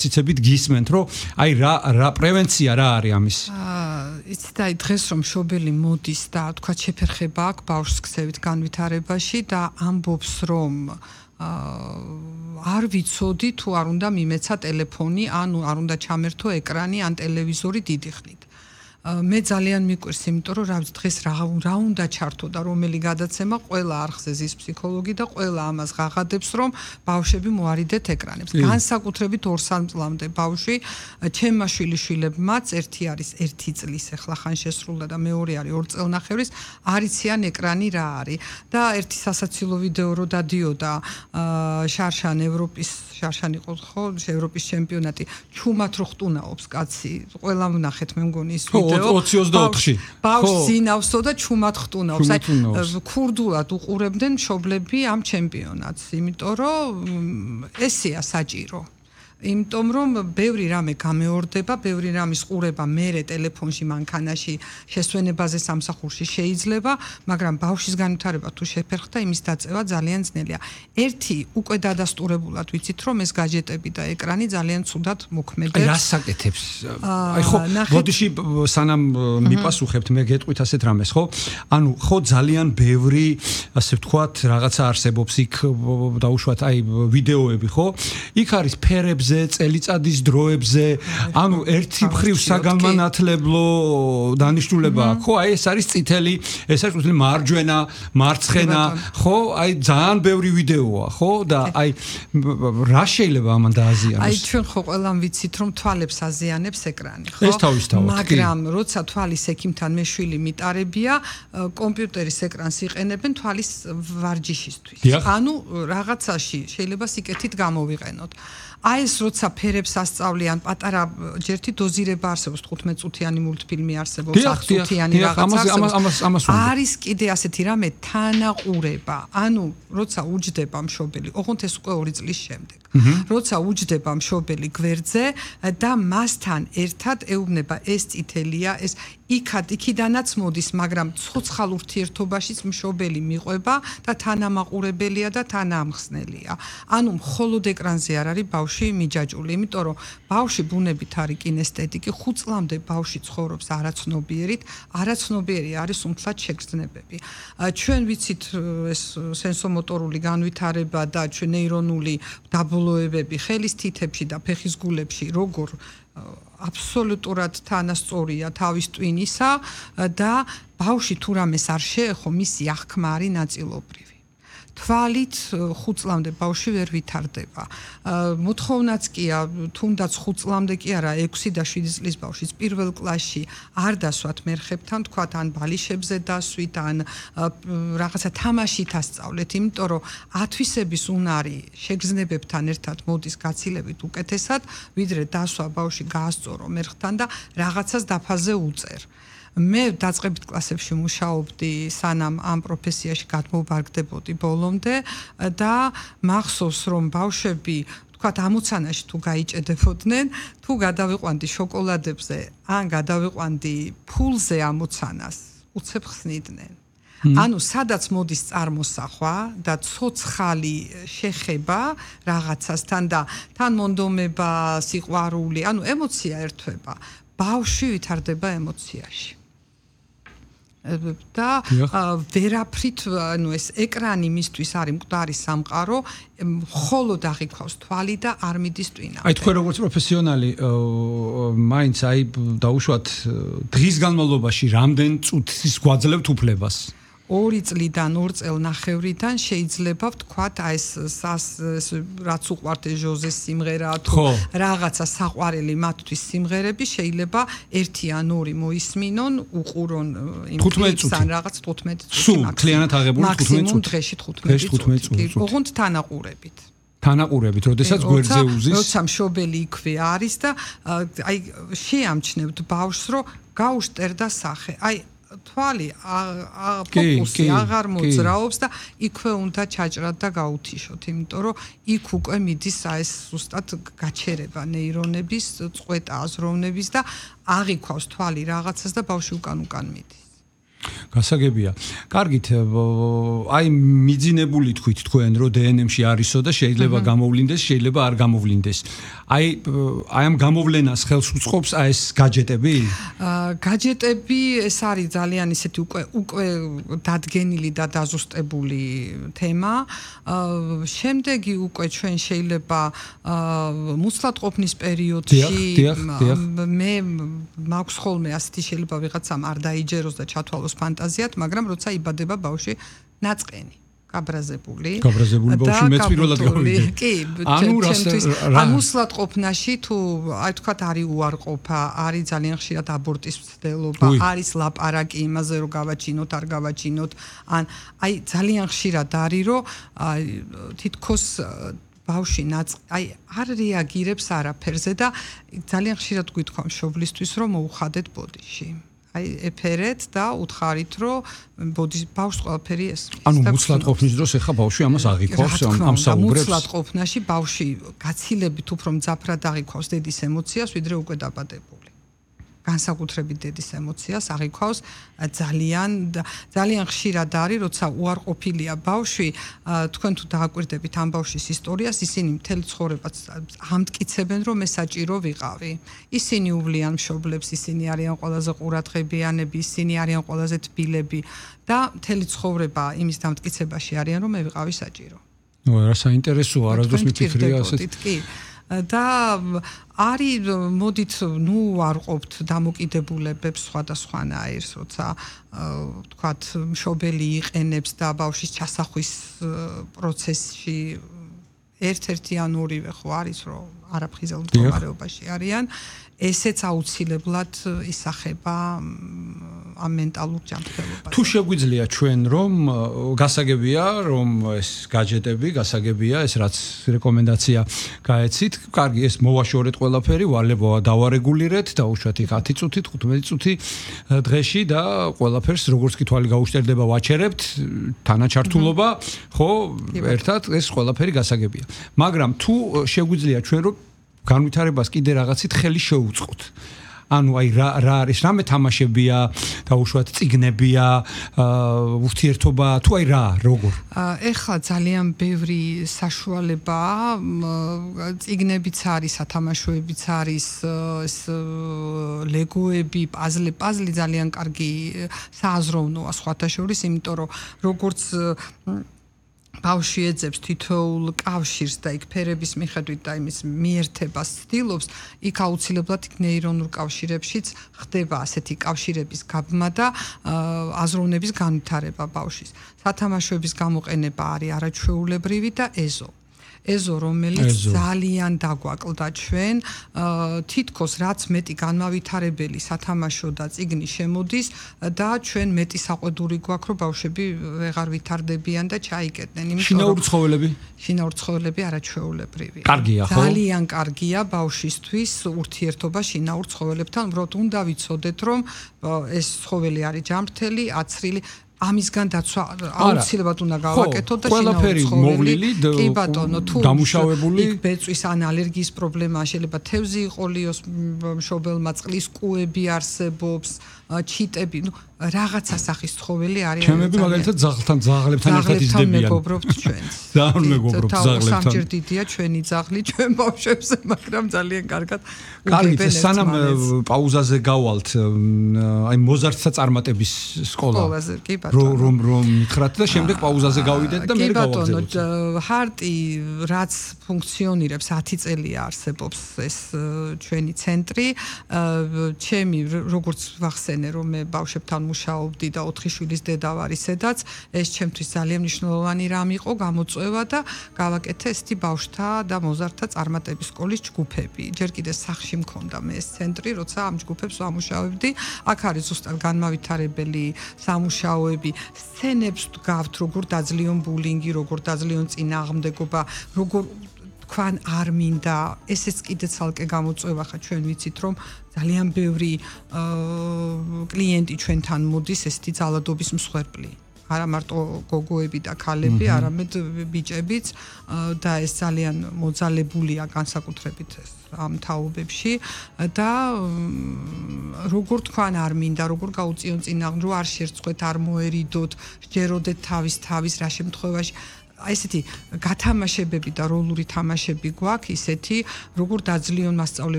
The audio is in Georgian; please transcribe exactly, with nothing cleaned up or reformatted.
ციცებით გისმენთ, რომ აი რა რა პრევენცია რა არის ამის? იცით, აი დღეს რომ მშობელი მოდის და თქვა შეფერხება აქვს ბავშვს ქცევით განვითარებაში და ამბობს რომ არ ვიცოდი თუ არ უნდა მიმეცა ტელეფონი, ანუ არ უნდა ჩამერთო ეკრანი ან ტელევიზორი დიდი ხნით. მე ძალიან მიყვარს, იმიტომ რომ რა ვიცი დღეს რა რა უნდა ჩართო და რომელი გადაცემა ყველა არხზე ზის ფსიქოლოგი და ყველა ამას ღაღადებს რომ ბავშვები მოარიდეთ ეკრანებს. განსაკუთრებით ორ სამ წლამდე ბავშვი, ჩემმა შვილიშვილებმაც ერთი არის ერთი წლის ახლა ხან შესრულდა და მეორე არის ორ წელნახევრის, არიციან ეკრანი რა არის. და ერთი სასაცილო ვიდეო რო დადიოდა შარშან ევროპის შარშან იყო ხო ევროპის ჩემპიონატი ჩუმად რო ხტუნაობს კაცი. ყველა ვნახეთ მე მგონი ის ოცი ოცდაოთხში ბავშვს ინავსო და ჩუმად ხტუნავს. აი ქურდულად უყურებდნენ მშობლები ამ ჩემპიონატს, იმიტომ რომ ესეა საჭირო. იმიტომ რომ ბევრი რამე გამეორდება, ბევრი რამის ყურება მერე ტელეფონში მანქანაში შესვენებაზე სამსახურში შეიძლება, მაგრამ ბავშვის განვითარება თუ შეფერხდა, იმის დაწევა ძალიან ძნელია. ერთი უკვე დადასტურებულად ვიცით, რომ ეს გაჯეტები და ეკრანი ძალიან ცუდად მოქმედებს. აი რას საკეთებს? აი ხო, ბოდიში სანამ მიპასუხებთ, მე გეტყვით ასეთ რამეს, ხო? ანუ ხო ძალიან ბევრი, ასე ვთქვათ, რაღაცა არსებობს იქ დაუშვათ აი ვიდეოები, ხო? იქ არის ფერებზე წელიწადის დროებზე, ანუ ერთი მხრივ საგანმანათლებლო დანიშნულება, ხო, აი ეს არის წითელი, ეს არის წითელი მარჯვენა, მარცხენა, ხო, აი ძალიან ბევრი ვიდეოა, ხო, და აი რა შეიძლება ამან დააზიანოს? აი ჩვენ ხო ყველამ ვიცით, რომ თვალებს აზიანებს ეკრანი, ხო? ეს თავისთავად, მაგრამ როცა თვალის ექიმთან მე შვილი მიტარებია, კომპიუტერის ეკრანს იყენებენ თვალის ვარჯიშისთვის. ანუ რაღაცაში შეიძლება სიკეთით გამოვიყენოთ. აი ეს როცა ფერებს ასწავლიან, პატარა ჯერთი დოზირება არსებობს, თხუთმეტ წუთიანი მულტფილმი არსებობს, ათ წუთიანი რაღაც არსებობს. არის კიდე ასეთი რამე თანაყურება. ანუ როცა უჯდება მშობელი, ოღონდ ეს უკვე ორი წლის შემდეგ. როცა უჯდება მშობელი გვერდზე და მასთან ერთად ეუბნება ეს წითელია, ეს იქად იქიდანაც მოდის, მაგრამ ცოცხალ ურთიერთობაშიც მშობელი მიყვება და თანამაყურებელია და თანაამხსნელია. ანუ მხოლოდ ეკრანზე არ არის ბავშვი მიჯაჭული, იმიტომ რომ ბავშვი ბუნებით არის კინესთეტიკი, ხუთ წლამდე ბავშვი ცხოვრობს არაცნობიერით, არაცნობიერი არის უმთლად შეგრძნებები. ჩვენ ვიცით ეს სენსომოტორული განვითარება და ჩვენ ნეირონული დაბოლოებები ხელის თითებში და ფეხის გულებში როგორ აბსოლუტურად თანასწორია თავის ტვინისა და ბავშვი თუ რამეს არ შეეხო, მისი აღქმა არის ნაწილობრივი. თვალით ხუთ წლამდე ბავშვი ვერ ვითარდება. მოთხოვნაც კია, თუნდაც ხუთ წლამდე კი არა, ექვსი და შვიდი წლის ბავშვის პირველ კლასში არ დასვათ მერხებთან, თქვათ ან ბალიშებზე დასვით, ან რაღაცა თამაშით ასწავლეთ, იმიტომ რომ ათვისების უნარი შეგრძნებებთან ერთად მოდის გაცილებით უკეთესად, ვიდრე დასვა ბავშვი გაასწორო მერხთან და რაღაცას დაფაზე უწერ. მე დაწყებით კლასებში მუშაობდი, სანამ ამ პროფესიაში გადმოვარგდებოდი ბოლომდე და მახსოვს რომ ბავშვები თქვათ ამოცანაში თუ გაიჭედებოდნენ, თუ გადავიყვანდი შოკოლადებზე, ან გადავიყვანდი ფულზე ამოცანას, უცებ ხსნიდნენ. ანუ სადაც მოდის წარმოსახვა და ცოცხალი შეხება რაღაცასთან და თან მონდომება, სიყვარული, ანუ ემოცია ერთვება. ბავშვი ვითარდება ემოციაში. და ვერაფრით, ანუ ეს ეკრანი მისთვის არის მკვდარი სამყარო, მხოლოდ აღიქვავს თვალი და არ მიდის ტვინა. აი თქვენ როგორც პროფესიონალი, მაინც აი დაუშვათ დღის განმავლობაში რამდენ წუთის გვაძლევთ უფლებას? ორი წლიდან ორ წელნახევრიდან შეიძლება ვთქვათ, აი ეს რაც უყვართ ჟოზეს სიმღერა თუ რაღაცა საყვარელი მათთვის სიმღერები შეიძლება ერთი ან ორი მოისმინონ, უყურონ იმ კლიპს ან რაღაც თხუთმეტ წუთი. სულ მთლიანად აღებული თხუთმეტ წუთი. მაქსიმუმ დღეში თხუთმეტ წუთი. ოღონდ თანაყურებით. თანაყურებით, როდესაც გვერდზე უზის. როცა მშობელი იქვე არის და აი შეამჩნევთ ბავშვს, რომ გაუშტერდა სახე. აი თვალი ფოკუსი აღარ მოძრაობს და იქვე უნდა ჩაჭრათ და გაუთიშოთ, იმიტომ რომ იქ უკვე მიდის ეს ზუსტად გაჩერება ნეირონების, წყვეტა აზროვნების და აღიქვავს თვალი რაღაცას და ბავშვი უკან უკან მიდის. გასაგებია. კარგით, აი მიძინებული თქვით თქვენ, რომ დე ენ ემ-ში არისო და შეიძლება გამოვლინდეს, შეიძლება არ გამოვლინდეს. აი აი ამ გამოვლენას ხელს უწყობს აი ეს გაჯეტები? აა გაჯეტები ეს არის ძალიან ისეთი უკვე უკვე დადგენილი და დაზუსტებული თემა. აა შემდეგი უკვე ჩვენ შეიძლება აა მუცლადყოფნის პერიოდში მე მაქვს ხოლმე ასეთი შეიძლება ვიღაცამ არ დაიჯეროს და ჩათვალოს ფანტაზიად, მაგრამ როცა იბადება ბავშვი ნაწყენი, გაბრაზებული. გაბრაზებული ბავშვი მეც პირველად გავიგე. კი, ჩემთვის ამ მუცლადყოფნაში თუ აი თქვათ არის უარყოფა, არის ძალიან ხშირად აბორტის მცდელობა, არის ლაპარაკი იმაზე რომ გავაჩინოთ, არ გავაჩინოთ, ან აი ძალიან ხშირად არის რომ აი თითქოს ბავშვი ნაწ აი არ რეაგირებს არაფერზე და ძალიან ხშირად გვითხოვ მშობლისთვის რომ მოუხადეთ ბოდიში. აი ეფერეთ და უთხარით რომ ბოდიში ბავშვს ყველაფერი ესმის. ანუ მუცლადყოფნის დროს ეხა ბავშვი ამას აღიქვავს ამ საუბრებს. მუცლადყოფნაში ბავშვი გაცილებით უფრო მძაფრად აღიქვავს დედის ემოციას ვიდრე უკვე დაბადებული. განსაკუთრებით დედის ემოციას აღიქვავს ძალიან ძალიან ხშირად არის, როცა უარყოფილია ბავშვი, თქვენ თუ დააკვირდებით ამ ბავშვის ისტორიას, ისინი მთელი ცხოვრებაც ამტკიცებენ, რომ მე საჭირო ვიყავი. ისინი უვლიან მშობლებს, ისინი არიან ყველაზე ყურადღებიანები, ისინი არიან ყველაზე თბილები და მთელი ცხოვრება იმის დამტკიცებაში არიან, რომ მე ვიყავი საჭირო. ნუ რა საინტერესოა, არასდროს მიფიქრია ასეთ. კი. და არის მოდით ნუ ვარყოფთ დამოკიდებულებებს სხვადასხვანაირს, როცა ვთქვათ მშობელი იყენებს და ბავშვის ჩასახვის პროცესში ერთ-ერთი ან ორივე ხო არის რომ არაფხიზელ მდგომარეობაში არიან, ესეც აუცილებლად ისახება ამ მენტალურ ჯანმრთელობას. თუ შეგვიძლია ჩვენ რომ გასაგებია რომ ეს გაჯეტები, გასაგებია ეს რაც რეკომენდაცია გაეცით, კარგი ეს მოვაშორეთ ყველაფერი, ვალებოა დავარეგულირეთ და უშუალოდ იქ ათი წუთი, თხუთმეტი წუთი დღეში და ყველაფერს როგორც კი თვალი გაუშტერდება ვაჩერებთ, თანაჩართულობა, ხო, ერთად ეს ყველაფერი გასაგებია. მაგრამ თუ შეგვიძლია ჩვენ რომ განვითარებას კიდე რაღაცით ხელი შეუწყოთ. ანუ აი რა რა არის, რამე თამაშებია, დაუშვათ წიგნებია, ურთიერთობა, თუ აი რა, როგორ? ეხლა ძალიან ბევრი საშუალებაა, წიგნებიც არის, სათამაშოებიც არის, ეს ლეგოები, პაზლი, პაზლი ძალიან კარგი სააზროვნოა სხვათა შორის, იმიტომ რომ როგორც ბავშვი ეძებს თითოეულ კავშირს და იქ ფერების მიხედვით და იმის მიერთებას ცდილობს, იქ აუცილებლად იქ ნეირონულ კავშირებშიც ხდება ასეთი კავშირების გაბმა და აზროვნების განვითარება ბავშვის. სათამაშოების გამოყენება არის არაჩვეულებრივი და ეზო. ეზო, რომელიც ძალიან დაგვაკლდა ჩვენ, თითქოს რაც მეტი განმავითარებელი სათამაშო და წიგნი შემოდის და ჩვენ მეტი საყვედური გვაქვს, რომ ბავშვები ვეღარ ვითარდებიან და ჩაიკეტნენ. შინაური ცხოველები? შინაური ცხოველები არაჩვეულებრივია. კარგია, ხო? ძალიან კარგია ბავშვისთვის ურთიერთობა შინაურ ცხოველებთან, უბრალოდ უნდა ვიცოდეთ, რომ ეს ცხოველი არის ჯანმრთელი, აცრილი ამისგან დაცვა აუცილებლად უნდა გავაკეთოთ და ყველაფერი მოვლილი კი ბატონო თუ დამუშავებული იქ ბეწვის ან ალერგიის პრობლემა შეიძლება თევზი იყოლიოს მშობელმა, წყლის კუები არსებობს, ჩიტები, ნუ რაღაცა სახის ცხოველი არის. ჩემები მაგალითად ძაღლთან ძაღლებთან ერთად იზრდებიან. მეგობრობთ ჩვენს. ძალიან მეგობრობთ ძაღლებთან. სამჯერ დიდია ჩვენი ძაღლი ჩვენ ბავშვებზე, მაგრამ ძალიან კარგად უგებენ ეს. სანამ პაუზაზე გავალთ, აი მოზარტთა წარმატების სკოლა. სკოლაზე კი ბატონო. რომ რომ მითხრათ და შემდეგ პაუზაზე გავიდეთ და მე გავაგზავნოთ. კი ბატონო, ჰარტი რაც ფუნქციონირებს ათი წელია არსებობს ეს ჩვენი ცენტრი. ჩემი როგორც ვახსენე რომ მე ბავშვებთან მუშაობდი და ოთხი შვილის დედა ვარ ისედაც, ეს ჩემთვის ძალიან მნიშვნელოვანი რამ იყო, გამოწვევა და გავაკეთე ესეთი ბავშვთა და მოზარდთა წარმატების სკოლის ჯგუფები. ჯერ კიდე სახში მქონდა მე ეს ცენტრი, როცა ამ ჯგუფებს ვამუშავებდი. აქ არის ზუსტად განმავითარებელი სამუშაოები, სცენებს ვდგავთ, როგორ დაძლიონ ბულინგი, როგორ დაძლიონ წინააღმდეგობა, როგორ თქვან არ მინდა, ესეც კიდე ცალკე გამოწვევა ხა ჩვენ ვიცით რომ ძალიან ბევრი კლიენტი ჩვენთან მოდის ესეთი ძალადობის მსხვერპლი. არა მარტო გოგოები და ქალები, არამედ ბიჭებიც და ეს ძალიან მოძალებულია განსაკუთრებით ამ თაობებში და როგორ თქვან არ მინდა, როგორ გაუწიონ წინააღმდეგ, რომ არ შერწყვეთ, არ მოერიდოთ, სჯეროდეთ თავის თავის რა შემთხვევაში აი ესეთი გათამაშებები და როლური თამაშები გვაქვს ისეთი, როგორ დაძლიონ მასწავლებლები